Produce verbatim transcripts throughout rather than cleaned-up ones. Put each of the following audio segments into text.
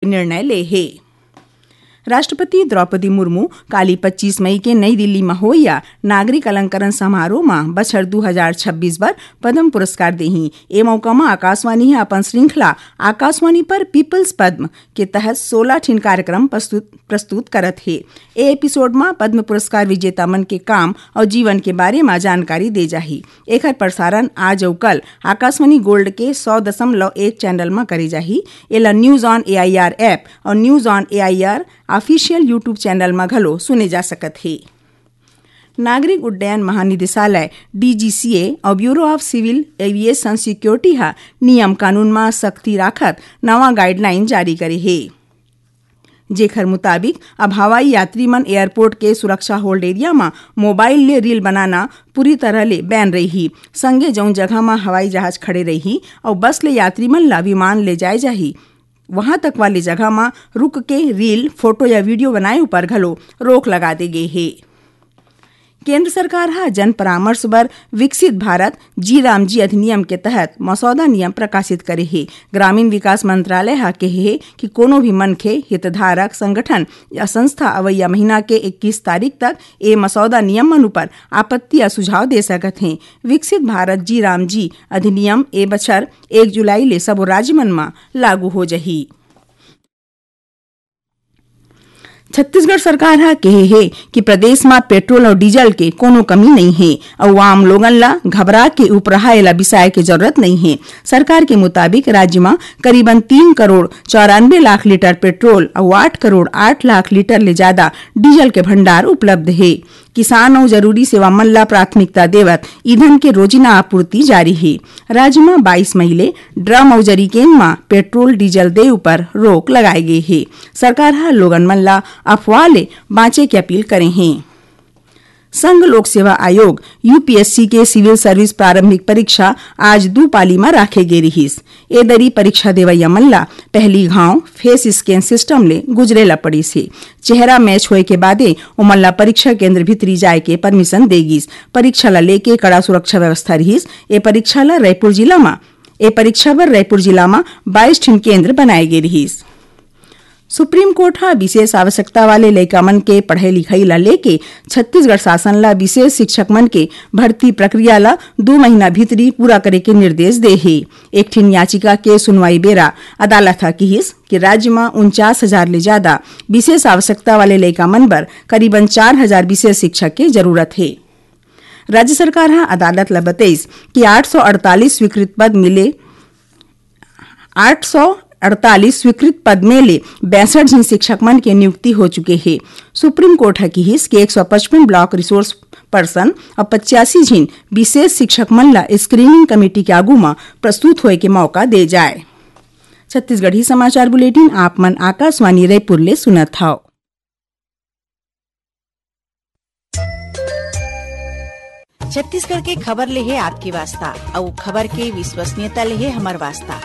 निर्णय ले हे। राष्ट्रपति द्रौपदी मुर्मू काली पच्चीस मई के नई दिल्ली म होइया नागरिक अलंकरण समारोह म बछर दू हजार छब्बीस बर पद्म पुरस्कार देही। ए मौका म आकाशवाणी ह अपन श्रृंखला आकाशवाणी पर पीपल्स पद्म के तहत सोलह ठिन कार्यक्रम प्रस्तुत, प्रस्तुत करत हे। ए एपिसोड म पद्म पुरस्कार विजेता मन के काम अउ जीवन के बारे म जानकारी दे जाही। एखर प्रसारण आज अउ कल आकाशवाणी गोल्ड के सौ दशमलव एक चैनल म करे जाही। एला News on A I R app अउ News on A I R official YouTube channel म घलो सुने जा सकत हे। नागरिक उड्डयन महानिदेशालय, D G C A, अउ Bureau of Civil Aviation Security ह नियम कानून म सख्ती राखत नवा गाइडलाइन जारी करे हे, जेखर मुताबिक अब हवाई यात्री मन एयरपोर्ट के सुरक्षा होल्ड एरिया म मोबाइल ले रील बनाना पूरी तरह ले बैन रही। संगे जउन जगह म हवाई जहाज खड़े रही अउ बस ले यात्री मन ला विमान ले जाए जाही, वहां तक वाले जगह म रुक के रील, फोटो या वीडियो बनाए ऊपर घलो रोक लगा दे गे हे। केंद्र सरकार ह जन परामर्श बर विकसित भारत जी राम जी अधिनियम के तहत मसौदा नियम प्रकाशित करे हे। ग्रामीण विकास मंत्रालय ह कहे हे कि कोनो भी मनखे, हितधारक, संगठन या संस्था अवइया महीना के इक्कीस तारीख तक ए मसौदा नियम मन उपर आपत्ति या सुझाव दे सकत हे। विकसित भारत जी राम जी अधिनियम ए बछर एक जुलाई ले सबो राज्य मन म लागू हो जही। छत्तीसगढ़ सरकार ह कहे हे कि प्रदेश म पेट्रोल अउ डीजल के कोनो कमी नइ हे अउ आम लोगन ला घबरा के उपराहा एला बिसाए के जरूरत नइ हे। सरकार के मुताबिक राज्य म करीबन तीन करोड़ चौरानबे लाख लीटर पेट्रोल अउ आठ करोड़ आठ लाख लीटर ले जादा डीजल के भंडार उपलब्ध हे। किसान अउ जरूरी सेवा मन ला प्राथमिकता देवत ईंधन के रोजिना आपूर्ति जारी हे। राज्य म बाईस मई ले ड्रम अउ जरीकेन म पेट्रोल डीजल दे उपर रोक लगाए गे हे। सरकार ह लोगन मन ला अफवाह ले बांचे के अपील करे हे। संघ लोक सेवा आयोग, U P S C, के सिविल सर्विस प्रारंभिक परीक्षा आज दू पाली म राखे गे रिहिस। ए दरी परीक्षा देवइया मन ला पहली घांव फेस स्कैन सिस्टम ले गुजरे ला पड़िस हे। चेहरा मैच होए के बादे ओमन ला परीक्षा केंद्र भीतरी जाए के परमिशन दे गिस। परीक्षा ला लेके कड़ा सुरक्षा व्यवस्था रिहिस। ए परीक्षा ला रायपुर जिला म, ए परीक्षा बर रायपुर जिला म बाईस ठिन केंद्र बनाए गे रिहिस। सुप्रीम कोर्ट ह विशेष आवश्यकता वाले लइका मन के पढ़ई लिखई ला लेके छत्तीसगढ़ शासन ला विशेष शिक्षक मन के भर्ती प्रक्रिया ला दू महीना भीतरी पूरा करे के निर्देश दे हे। एक ठिन याचिका के सुनवाई बेरा अदालत ह किहिस कि राज्य म उनचास हजार ले जादा विशेष आवश्यकता वाले लइका मन बर करीबन चार हजार विशेष शिक्षक के जरूरत हे। राज्य सरकार ह अदालत ल बतइस कि आठ सौ अड़तालीस स्वीकृत पद मिले, आठ सौ अड़तालीस स्वीकृत पद में ले बासठ झिन शिक्षक मन के नियुक्ति हो चुके हे। सुप्रीम कोर्ट ह किहिस कि एक सौ पचपन ब्लॉक रिसोर्स पर्सन अउ पचासी झिन विशेष शिक्षक मन ल स्क्रीनिंग कमेटी के आगू म प्रस्तुत होए के मौका दे जाए। छत्तीसगढ़ी समाचार बुलेटिन आप मन आकाशवाणी रायपुर ले सुनत हव। छत्तीसगढ़ के खबर ले हे आपके वास्ता, अउ खबर के विश्वसनीयता ले हे हमर वास्ता।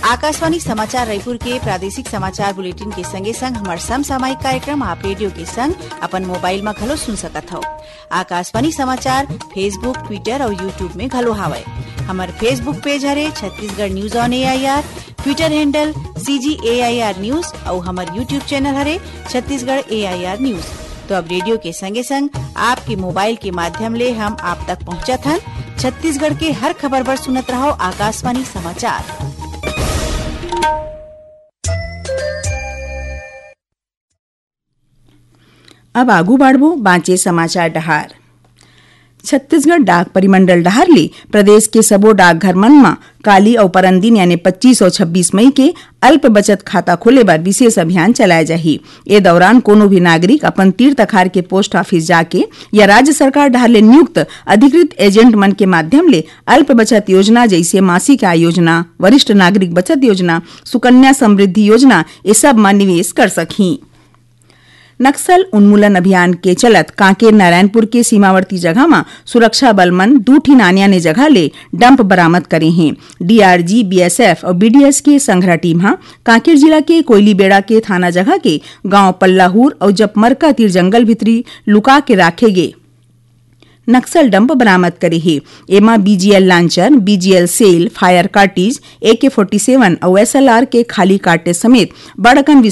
आकाशवाणी समाचार रायपुर के प्रादेशिक समाचार बुलेटिन के संगे संग हमर समसामयिक कार्यक्रम आप रेडियो के संग अपन मोबाइल म घलो सुन सकत हव। आकाशवाणी समाचार Facebook, Twitter अउ YouTube में घलो हावय। हमर Facebook पेज हरे Chhattisgarh news on A I R, Twitter handle C G A I R news अउ हमर YouTube चैनल हरे Chhattisgarh A I R news. तो अब रेडियो के संगे संग आपके मोबाइल के माध्यम ले हम आप तक पहुंचत हन। छत्तीसगढ़ के हर खबर बर सुनत रहव आकाशवाणी समाचार। अब आगू बाढ़बो बांचे समाचार डहार। छत्तीसगढ़ डाक परिमंडल डहार ले प्रदेश के सबो डाकघर मन म काली अउ परन दिन यानी पच्चीस अउ छब्बीस मई के अल्प बचत खाता खोले बर विशेष अभियान चलाए जाही। ए दौरान कोनो भी नागरिक अपन तीर तखार के पोस्ट ऑफिस जाके या राज्य सरकार डहार ले नियुक्त अधिकृत एजेंट मन के माध्यम ले अल्प बचत योजना जइसे मासिक आय योजना, वरिष्ठ नागरिक बचत योजना, सुकन्या समृद्धि योजना, ए सब म निवेश कर सकही। नक्सल उन्मूलन अभियान के चलत कांकेर नारायणपुर के सीमावर्ती जगह म सुरक्षा बल मन दू ठिन आने-आने जगह ले डंप बरामद करे हें। D R G, B S F अउ B D S के संघरा टीम ह कांकेर जिला के कोयलीबेड़ा के थाना जगह के गांव पल्लाहूर अउ जपमरका तीर जंगल भीतरी लुका के राखे गे नक्सल डंप बरामद करे हे। एमा B G L launcher, B G L shell, fire cartridge, A K forty seven अउ S L R के खाली कार्टेज समेत बड़ अकन